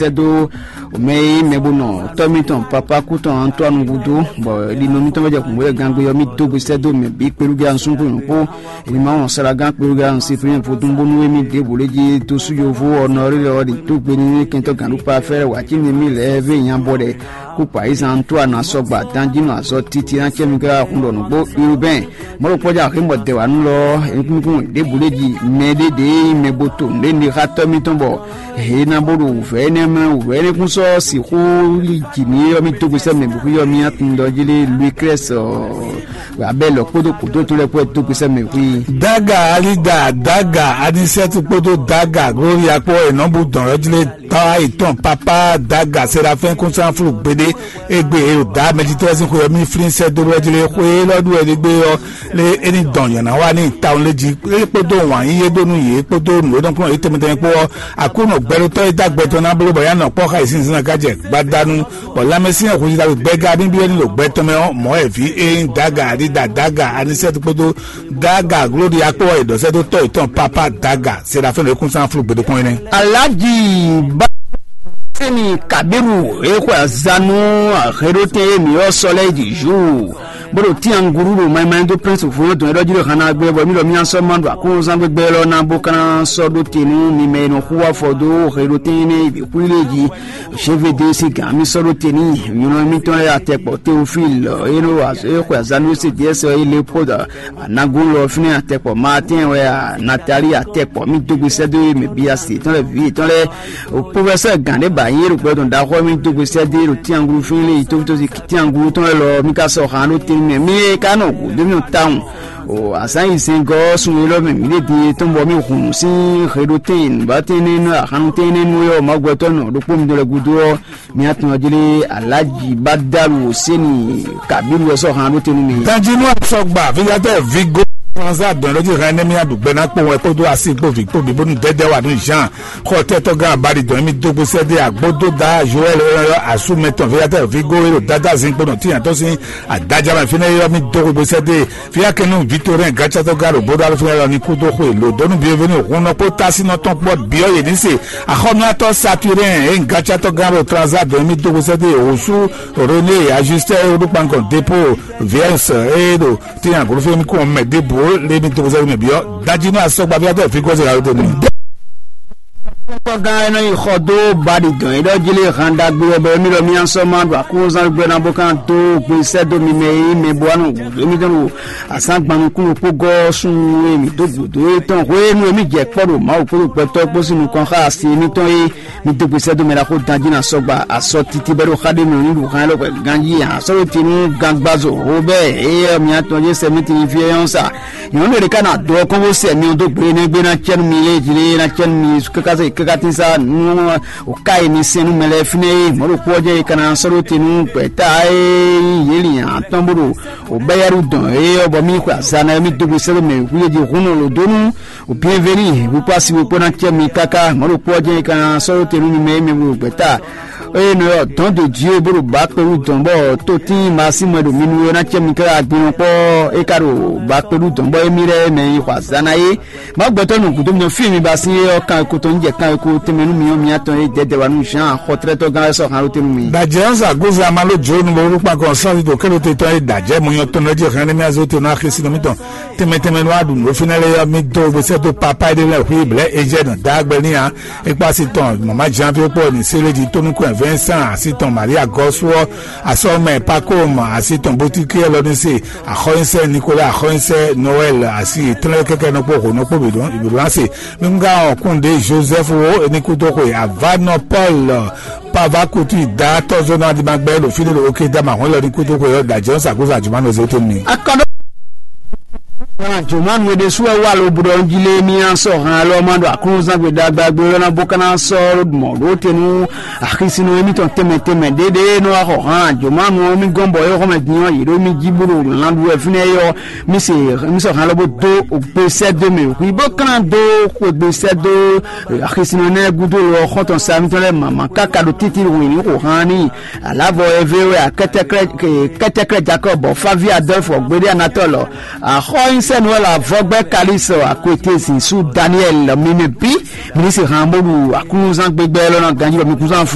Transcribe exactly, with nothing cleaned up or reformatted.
sɛ́ dó mɛ e nyí mɛ bó nɔ tɔ́ mitɔn papá kú tɔn Antoine gúdo, bɔ ɖinɔ mitɔn wɛ jɛ kǔngbó lɛ gangbe ɔ́, mì dó gbe sɛ́ dó mɛ bǐ kpelúgɛ ansúngbó nyɔ̌kpó. Emi ma wɔn saragan kpelúgɛ ansúngbó vodún bónú emi ɖěbǔ lé jí dó sú yovo ɔ́ nɔ rí lɛ ɔ́ ɖi dó gbe ní kɛntɔ́ gǎnɖúkpa fɛ́ wǎ cí ní mì lɛ́ɛ vé nyabɔ ɖɛ kú kpa yí zan tó ana sɔgba dán jí nɔ azɔ titi ná cɛ mi ká hun ɖɔ nǔgbó urbain. Mɔ̌ ɖokpɔ́ jɛ axé mɔ dɛ̌wanu lɔ ɔ́, nukúnnukún ɖěbǔ lé jí mɛ ɖé ɖě nyí mɛ bo to nǔɖé ní xá tɔ́ mitɔn bɔ hě ná bó ɖo wǔvɛ́ énɛ́ mɛ wǔvɛ́ énɛ́ kún sɔ́ sixú lí jǐ mì ɔ́, mì dó gbe sɛ́ mɛ bǐ xwí ɔ́, mì atundɔ jí lé Louis Crest abɛ́ lɔ kpódó kòtó tɔn lɛ́ɛ kpó dó gbe sɛ́ mɛ bǐ xwí. Daga Alida, Daga Anisɛtu kpódó Daga Gloria kpó è nɔ bú dɔn ɔ́ jí lé tɔ́ ayǐtɔn Papa Daga Serafin kún sán flú gbeɖé. Égbé e ɖo dǎ mɛjitɔ́ sín xwe ɔ́ mì flín sɛ́ dó lɔ jí lé xwe élɔ́ ɖu wɛ ɖé gbé ɔ́, lé é ní dɔn nyɔ̌ná wá n'i tawun lé jí é kpódó wǎn yíyí e ɖó nú yě kpódó nǔ e nɔ kplɔ́n yě tɛnmɛ tɛnmɛ kpó ɔ́. Aklúnɔ gbɛɖotɔ́ e dó agbɛ tɔn ná bló bɔ yá nɔ kpɔ́ xá yě sín zán ká jɛ gbadanu, bɔ lanmɛsyɛn hwesida ɖo gbɛgá bíbí ɔ́ ní ɖo gbɛ tɔn mɛ ɔ́, mɔ̌ wɛ vǐ e nyí Daga Alida Daga Anisɛtu kpódó Daga Glóɖi akpó wɛ è ɖɔ sɛ́ dó tɔ́ yětɔn Papa Daga Serafɛ́n e kún sán flú gbeɖé kpɔ́n é nɛ́. Alhaji ba sɛni Kabiru e xwe azanu aheɖotɛn e mi ɔ sɔ lɛ yi ju bó ɖo tianguru ɖo mayimayi dó prince fún dɔn ɛɖɔ jí ɖo hana gbé bɔ mi ɖɔ mi asɔ ma ɖo akɔnzan gbégbé lɔ ná bó kana sɔ ɖó te nú mi mɛ e nɔ xú afɔ dó heɖotɛn ne yi xwí lé jí. Jevede si gǎn mi sɔ ɖó te ní nyɔnɔ mitɔn lɛ atɛkpɔ Teofil e nɔ e xwe azanu se diɛ sɔ e lé poda anagun lɔ fínɛ atɛkpɔ Martin wɛ a Natali atɛkpɔ mi dó gbe sɛ́ dó mɛ bia se tɔn lɛ vi tɔn lɛ. Professeur gǎn ɖé ba yín ɖo gbɛdɔn ɖaxɔ mi dó gbe sɛ́ dó ɖo tianglu fínɛ lé yi tófútó si tianglu tɔn lɛ lɔ mi ka sɔ xan ɖó te mɛ mi e ka nɔ gu dó mi tawun. O azán yi zɛngɔ sun e lɔ mɛ mi ɖe din tɔn bɔ mi hun sín heɖotɛn nǔbátɛn nɛnu ahanu tɛn nɛnu e ɔ ma gbɛtɔ nɔ ɖokpó mi dó lɛ gudo ɔ mi atɔn ɔ jlé alaji badalu seni kabiru ɛ sɔ han ɖó tenu mi. Danjinu asɔgba vigatɛ vigo transa dɔn lɔ ji hɛn ne mi aɖu gbɛ na kpɔn wɛ kpódó asi kpó vi kpó bi bónú dɛdɛ wa nú Jean xɔ tɛtɔ gán abali dɔn mi dógbe sɛdé agbódó da Joël ɔyɔ asu mɛtɔn vigatɛ vigo ero dada zin kpó nɔ tiyan tɔ sin adajama fínɛ yɔ mi dógbe sɛdé Fia kɛnu Victorin gatsatɔ galo bodo alufin lɔ ni kudo xwe lo donu bienvenu hun nɔ kpó tasinɔ tɔn kpɔ biɔ yě ní se axɔmiatɔ Saturnin e gatsatɔ galo transa dɔn mi dogo sɛte osu René ajustɛ e ɖo kpankɔ depo viens e ɖo tinya golo fɛn mi kɔn mɛ debo le mi dogo sɛte mɛ biɔ dajinu asɔgbaviatɔ fi gɔze la yɔdo ni. Kpɔgán ɛ nɔ yi xɔ dó baɖi dɔn yi ɖɔ jí lé han ɖagbe ɔbɛ mi lɔ mi asɔ ma ɖo akúnzán gbɛ na bó kan dó gbe sɛ dó mi mɛ yi mɛ bó anu wǔ mi dɔn wò asán gbanu kúnnu kpó gɔ́ sun e mi dó gǔdo e tɔn hwenu e mi jɛ kpɔ ɖo Mawu kpódó gbɛtɔ́ kpó sín nukɔn xá asi mi tɔn e mi dó gbe sɛ dó mɛ la xó dan jí na sɔgba asɔ titi bɛ ɖo xá ɖé mi ní ɖo hán lɔ ganjí asɔ ɖo tinu gangbazo hó bɛ e mi atɔn jɛ sɛ mi tini fi yɔn sa. Nyɔ̌nu ɖé ká ná dó ɔ́ kɔn bó sɛ mi ɔ́ dó gbe énɛ́ gbe ná cɛ́ nú mi lé jí lé ná cɛ́ nú mi káká se káká tín sá nú o ká yi mi sɛn nú mɛ lɛ́ɛ fínɛ́ é mɔ̌ ɖo kú ɔ́ jɛ yi ka ná sɔ́ ɖó te nú gbɛ̌ta e nyí yě lin atɔ́n bó ɖo o bɛ́yɛ́ɖu dɔn é ɔ́ bɔ mì xwe azan ná mì dó gbe sɛ́ ɖó mɛ wíwú jí hun nɔ lǒ dó nú o bienveni wíkpá si wíkpó ná cɛ́ mi káká mɔ̌ ɖo kú ɔ́ jɛ yi ka ná sɔ́ ɖó te nú mi mɛ é mɛ ɖo gbɛ̌ta eye nɔ ɔ́ dɔn do jí e bó ɖo ba kpé wú dɔn bɔ tó tín ma sí mɔ ɖo mi nu ɔ́ ná cɛ mi kára gbinɔ kpɔ é ka ɖo ba kpé wú dɔn bɔ émí lɛ́ɛ mɛ yi xɔ azǎn ná é. Ma gbɛtɔ nɔ gǔdo mi fí mi ba sí é ɔ́ kan ko tɔn jɛ kan ko tɛmɛ nú mi ɔ́ mi atɔn é dɛdɛ wa nú Jean xɔtrɛtɔ gán wɛ sɔ han ló tɛnu mi. Dajɛ ɔn sa gozi ama ló jo nu bo kpa kɔn sɔn do kɛlɛ te tɔn é dajɛ mo nyɔ tɔn lɛ jɛ hɛn ne mi azo te na xisi nɔ mi tɔn tɛmɛ tɛmɛ nɔ adu nɔ fi na lɛ yɔ mi do bo sɛ do papa de lɛ hui blɛ ejɛ nɔ dagbe ni ya. Ekpɔ asi tɔn mama Jean Pierre Paul ni Seleji Tonukun Vincent asi tɔn Maria Gɔsuɔ asɔmɛ Pakom asi tɔn Botiki Elɔnise axɔnyisɛ Nicolas axɔnyisɛ Noël asi tɔn kɛkɛ nɔkpɔ ho nɔkpɔ bidɔn ibidɔn ase nunga ɔ kunde Joseph wo enikuto xwe avanɔ Paul pava kutu da tɔzɔnɔ adimagbɛ ɖo fili ɖo oke dama hɔn lɛ nikuto xwe yɔ dajɛ sakusa juma nɔ zete mi. Akɔdɔ Jomanu e ɖésú wɛ wá lobǔɖɔ jí lé mì asɔ hàn lɔ ma ɖo aklúnzán gbe ɖagba gbe lɔ na bó ka ná sɔ́ mɔ̌ ɖó te nú axisínɔ émítɔn tɛnmɛ tɛnmɛ ɖéɖé nɔ wá xɔ hàn Jomanu ɔ́ mì gɔ́n bɔ é xɔmɛ din ɔ́ yě ɖó mì jí bó ɖo lan ɖu wɛ fínɛ́ é ɔ́ mì se mì sɔ hàn lɔ bó dó gbe sɛ́ dó mɛ hui bó ka ná dó xwegbe sɛ́ dó axisínɔ nɛ́ gúdo lɔ xɔ́ntɔn sa mítɔn lɛ́ɛ mama káka ɖo títí wǐní xo hàn ní Alavɔ eve wɛ akɛtɛkrɛ kɛtɛkrɛ Jacob bɔ Favi Adolphe gbede Anatole. Axɔ nyi Sɛnuwɛla vɔgbɛ Kalixte akwete zin su Daniel mimi bi, ministre han bó ɖu aklúnúzán gbégbé lɔ ná ganjí lɔ mi kún zán